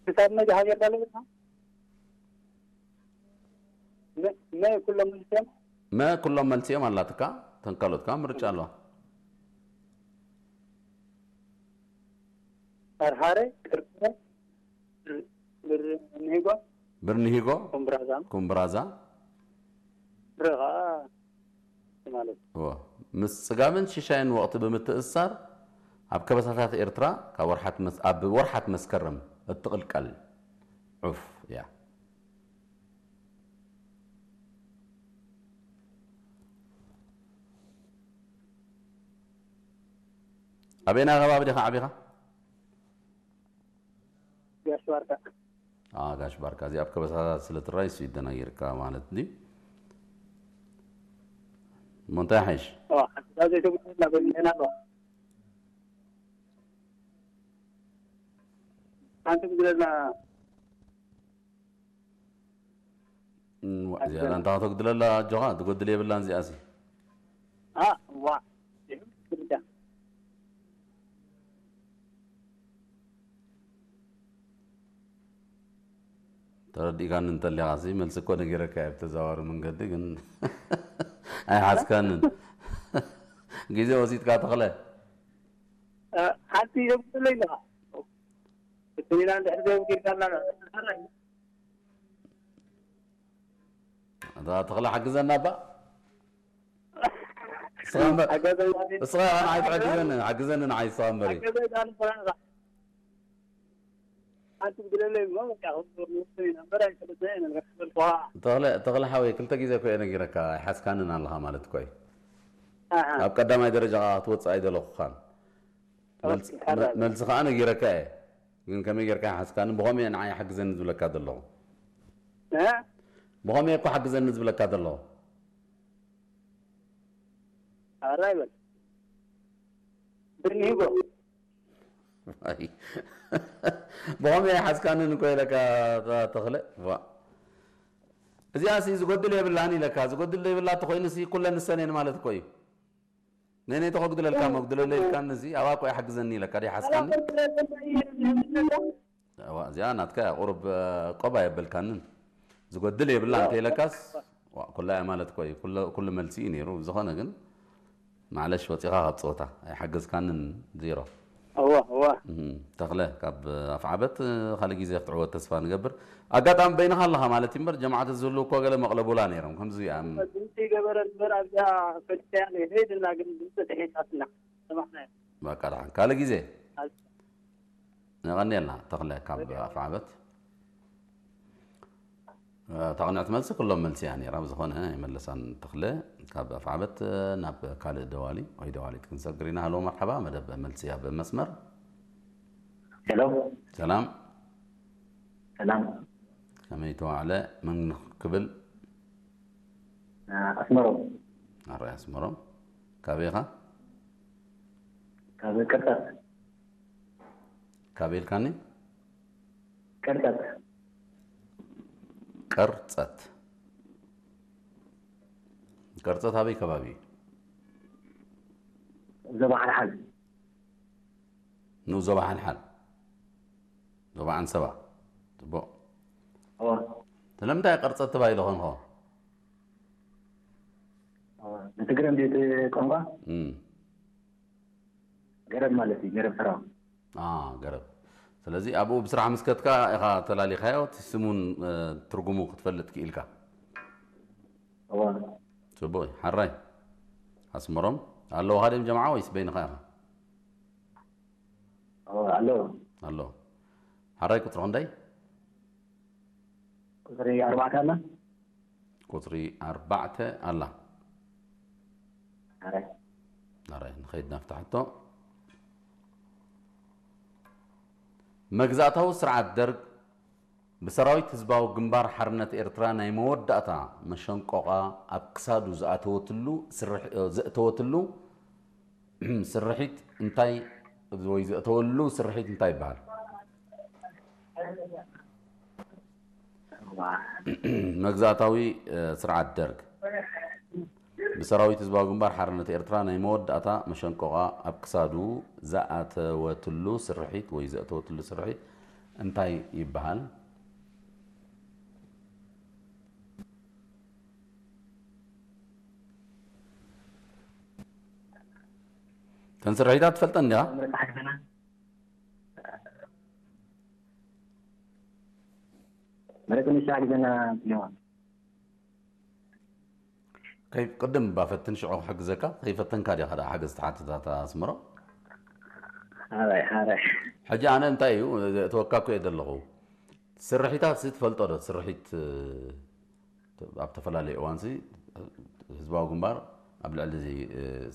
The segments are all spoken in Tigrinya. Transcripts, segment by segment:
ክሳብ መዚ ሃገር ዳለበትና መ ኩሎም መልስዮም መ ኩሎም መልሲኦም ኣላትካ። ተንካሎትካ ምርጫ ኣለዋ። ኣርሃረ ቅርቅረ ብርኒሂጎ ብርኒሂጎ ኩምብራዛ ኩምብራዛ ብረ ከዓ ማለት እዩ። እዎ። ምስ ጽጋብን ሽሻይን ወቕቲ ብምትእስሳር ኣብ ከበሳታት ኤርትራ ካብ ወርሓት መስ- ኣብ ወርሓት መስከረም እትቕልቀል ዑፍ እያ። ኣበየናይ ከባቢ ዲኻ ዓቢኻ? ጋሽ ባርካ ኣዎ፣ ጋሽ ባርካ፣ እዚኣ ኣብ ከበሳታት ስለ ትረኣይ እሱ ይደናጊርካ ማለት ድዩ? እሞ እንታይ ሓይሽ? ኦ ሓንታ ዘይተጉድለና በሊዕና ኣሎ ሓንቲ ጉድለና እም፣ ዋ፣ እዚኣ ኣንታ ከተጉድለላ ኣጆኻ፣ ትጎድል የብላን እዚኣሲ። ዋ ተረዲእካኒ እንተሊኻ ሲ መልሲ እኮ ነጊረካ እየ ብተዘዋዋሪ መንገዲ፣ ግን ኣይሓዝካንን። ግዜ ወሲድካ ተኽለ። ሓንቲ የብለይ ኣለኻ እትኒና እንድሕር ዘይወጊድካና እታ ተኽለ ሓግዘና እባ። እስኻ እምበር- ሓገዘና እስኻ ንዓይ ትሕግዘኒ፣ ሓግዘኒ ንዓይ እስኻ እምበሪ። ሓገዘና ሓንቲ ጉድለለይ እሞ በቃ ንወስድ ኢና እምበር ኣይፈልጥና ኢና ንረክበልኩ ተኽለ ተኽለ ሓወይ ክልተ ግዜ እኮ እየ ነጊረካ ኣይሓዝካንን ኣለኻ ማለት እኮ እዩ። ኣብ ቀዳማይ ደረጃ ከዓ ክትወፅእ ኣይደለኹኻን። መልስ- ኦኬ፣ ሓራይ። መልሲ ከዓ ነጊረካ እየ። ግን ከመይ ጌርካ ሓዝካኒ ብኸመይ እየ ንዓይ ሓግዘኒ ዝብለካ ዘለኹ? እ? ብኸመይ እኮ ሓግዘኒ ዝብለካ ዘለኹ? ኣራይ በል ብርኒሂጎ ኣይ። ብኸመይ ኣይሓዝካንን እኮ ኢለካ ተ- ተኽለ ዋ። እዚኣ ሲ ዝጎድል የብላን ኢለካ። ዝጎድል ዘይብላ ተኮይኑ ሲ ኩለን ንሰን እየን ማለት እኮ እዩ። ነነይ ተኸጉድለልካ መጉድለለ ኢልካኒ እዚ ኣብኣ እኮ ይሓግዘኒ ኢለካ ደይ ሓዝካኒ። እዋ፣ እዚኣ ናትካ እያ፣ ቁሩብ፣ እ፣ ቆብ ኣየበልካንን። ዝጎድል የብላ እንተ ኢለካስ፣ ዋ፣ ኩላ እያ ማለት እኮ እዩ። ኩሉ፣ ኩሉ መልሲ እዩ ነይሩ። ዝኾነ ግን፣ ማዕለሽ፣ ወጺኻ ካብ ጸወታ። ኣይሓገዝካንን፣ ዜሮ። እዋ፣ እዋ። እም፣ ተኽለ፣ ካብ ኣፍዓበት፣ እ፣ ካልእ ግዜ ክትዕወት ተስፋ ንገብር። ኣጋጣሚ በይንኻ ኣለኻ ማለት እዩ እምበር፣ ጀማዓት ዝህልው እኮ ገለ መቕለቡላ ነይሮም። ከምዚ እያ። እም። ድምፂ ገበረ እምበር ኣብዚኣ ፈሊጠያ ነይረ። ሄድና ግን ድምፂ ተሒሳትና። ሰማዕናዮ። በቃ፣ ደሓን። ካልእ ግዜ። የቐንየልና ተኽለ ካብ ኣፍዓበት። እታ ቅንዕቲ መልሲ ኩሎም መልሲ እያ ነይራ። ብዝኾነ የመለሳን ተኽለ ካብ ኣፍዓበት። ናብ ካልእ ደዋሊ ወይ ደዋሊት ክንሰግር ኢና። ሃሎ መርሓባ፣ መደብ መልሲ ኣብ መስመር። ሄሎ ሰላም፣ ሰላም ከመይ ተዋዕለ? መን ክብል? ኣስመሮም ኣራይ ኣስመሮም። ካበይ ኢኻ? ካብ ቅርጠት ካበይ ኢልካኒ? ቅርጠት ቀርጸት። ቀርጸት ኣበይ ከባቢ እዩ? ዞባ ሓልሓል ንኡስ ዞባ ሓልሓል፣ ዞባ ዓንሰባ። ጽቡቕ። እወ ስለምንታይ ቀርጸት ተባሂሉ ኾንኾ? እወ ንትግረ እንዴት ቋንቋ እም። ገረብ ማለት እዩ ገረብ ተራው አ፣ ገረብ። ስለዚ ኣብኡ ብስራሕ ምስ ከድካ ኢኻ ተላሊኻዮ፣ እቲ ስሙን፣ እ፣ ትርጉሙ ክትፈልጥ ክኢልካ። እወ ጽቡቕ እዩ። ሓራይ ኣስመሮም ኣለውኻ ድዮም ጀምዓ ወይስ በይንኻ ኢኻ? እወ ኣለዉ ኣሎ። ሓራይ ቁጽሪ ክንደይ? ቁፅሪ ኣርባዕተ ኣላ ቁጽሪ ኣርባዕተ ኣላ። ኣረ ኣረ ንኸይድ ናብታ ሕቶ። መግዛእታዊ ስርዓት ደርግ ብሰራዊት ህዝባዊ ግንባር ሓርነት ኤርትራ ናይ መወዳእታ መሸንቆቓ ኣብ ክሳዱ ዝኣተወትሉ ስርሕ-፣ ዘእተወትሉ ስርሒት እንታይ ወይ ዘእተወሉ ስርሒት እንታይ ይበሃል? መግዛእታዊ፣ እ፣ ስርዓት ደርግ ብሰራዊት ህዝባዊ ግንባር ሓርነት ኤርትራ ናይ መወዳእታ መሸንቆቓ ኣብ ክሳዱ ዝኣተወትሉ ስርሒት ወይ ዘእተወትሉ ስርሒት እንታይ ይበሃል? እተን ስርሒታት ትፈልጠን ዲኻ? ምረጽ ሓግዘና። ምረጽ ንሳ ግዘና። ስለዋ ከይ ቅድም ባፈትን ሽዑ ክሕግዘካ ከይፈተንካ ዲኻ ደኣ ሓገዝ ትሓትታት ኣስምሮ? ሓራይ ሓራይ ሕጂ ኣነ እንታይ እዩ እተወካ እኮ እየ ዘለኹ። ስርሒታት ሲ ትፈልጦ ዶ? ስርሒት ኣብ ተፈላለየ እዋንሲ ህዝባዊ ግንባር ኣብ ልዕሊ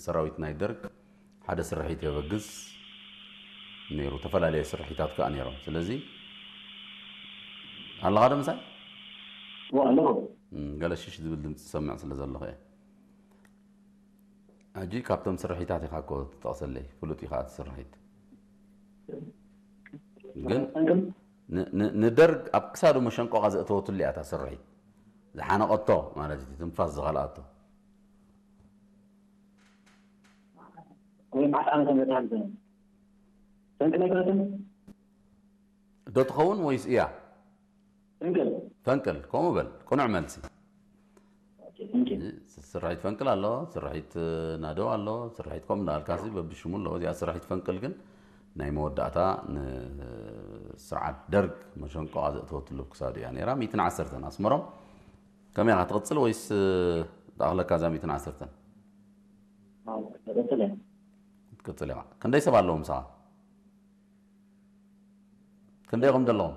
ሰራዊት ናይ ደርግ ሓደ ስርሒት የበግስ ነይሩ። ተፈላለየ ስርሒታት ከዓ ነይሮም። ስለዚ ኣለኻ ዶ ምሳይ? ኣለኹ። ገለ ሽሽ ዝብል ድምፂ ዝሰምዕ ስለ ዘለኹ እየ። ሕጂ ካብቶም ስርሒታት ኢኻ እኮ ትጠቕሰለይ፣ ፍሉጥ ኢኻ እቲ ስርሒት። ግን ንደርግ ኣብ ክሳዱ መሸንቆቓ ዘእተወትሉ እያ እታ ስርሒት። ዝሓነቐቶ ማለት እዩ፣ ትንፋስ ዝኸልኣቶ። ወይ መዓስ ዓመተ ምህረት ሓግዘና? ሰንቂ ናይ ኩነትን ዶ ትኸውን ወይስ እያ? ፈንቅል ፈንቅል ከምኡ በል። ቅኑዕ መልሲ። ኦኬ፣ ፈንቅል። ስርሒት ፈንቅል ኣሎ፣ ስርሒት ናደው ኣሎ፣ ስርሒት ከምኡ እንዳበልካሲ በብሽሙ ኣለዎ። እዚኣ ስርሒት ፈንቅል ግን ናይ መወዳእታ ንስርዓት ደርግ መሸንቆቓ ዘእተወትሉ ክሳዱ እያ ነይራ። ሚእትን ዓሰርተን ኣስመሮም ከመይ ኢኻ ትቕጽል ወይስ ትኣኽለካ እዛ ሚእትን ዓሰርተን? ኣዎ፣ ቀጽል እያ። ትቅጽል ኢኻ። ክንደይ ሰብ ኣለዉ ምሳኻ? ክንደይ ኢኹም ዘለኹም?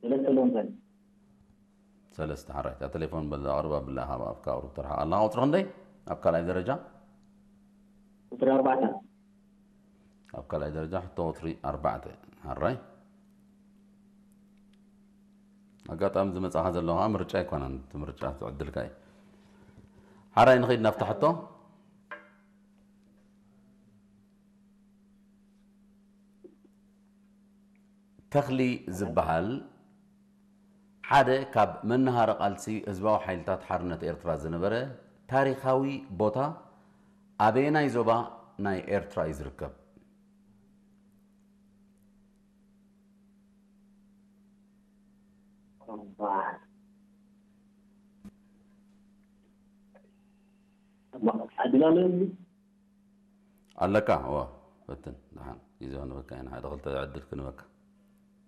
ሰለስተ ኣለዉ ምሳይ። ሰለስተ ሓራይ። እታ ቴሌፎን በዛ ኣቕርብ ኣብላ ኢኻ ኣብካ ቁሩብ ትርሓቕ ኣላ። ቁጽሪ ክንደይ? ኣብ ካልኣይ ደረጃ? ቁጽሪ ኣርባዕተ። ኣብ ካልኣይ ደረጃ ሕቶ ቁጽሪ ኣርባዕተ። ሓራይ። ኣጋጣሚ ዝመጻኻ ዘለኻ ምርጫ ኣይኮነን፣ እቲ ምርጫ ትዕድልካ እዩ። ሓራይ ንኸይድ ናብታ ሕቶ። ተኽሊ ዝበሃል ሓደ ካብ መናሃሪ ቃልሲ ህዝባዊ ሓይልታት ሓርነት ኤርትራ ዝነበረ ታሪኻዊ ቦታ ኣበየናይ ዞባ ናይ ኤርትራ እዩ ዝርከብ? ዕድል ኣሎ። ኣለካ? እወ፣ ፈትን። ደሓን ግዜ ክንበካ ኢና፣ ሓደ ክልተ ዕድል ክንበካ።